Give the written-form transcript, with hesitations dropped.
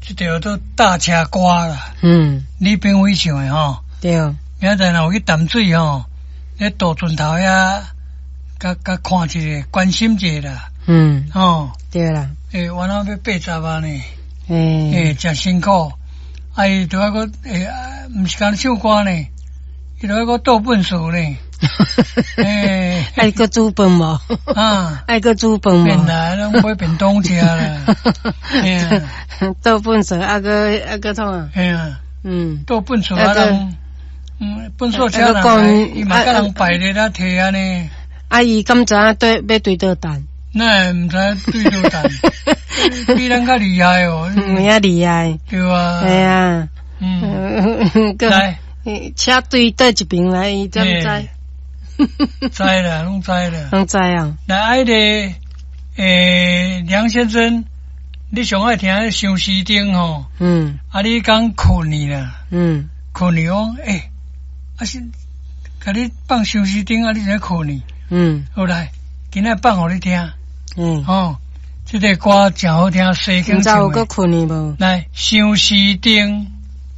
這條做搭車歌啦。李炳輝唱的吼。對。明仔載若有去淡水吼，咧渡船頭遐，共共看一下，關心一下啦。吼。對啦。欸，原來欲80啊呢。欸，誠辛苦。啊，伊著愛閣欸，毋是干焦唱歌呢，伊著愛閣倒糞埽呢。欸，愛閣煮飯無？啊，愛閣煮飯無？免啦，攏買便當食啦。倒糞埽啊，閣啊閣創啊？嘿啊。倒糞埽啊，人，糞埽車人，伊嘛共人排咧咧提按呢。啊，伊敢知影對欲對佗擲？哪會毋知對佗擲？比咱較厲害哦。有影厲害。對啊。嘿啊。來。車對佗一爿來，伊怎知？知啦，攏知啦。攏知啊。來，彼个，欸，梁先生，你上愛聽相思燈吼？啊，你講困去啦。困去講，欸，啊是，共你放相思燈啊，你怎困去？好來，今仔放予你聽。吼，這个歌誠好聽，西景毋知有閣困去無？來，相思燈。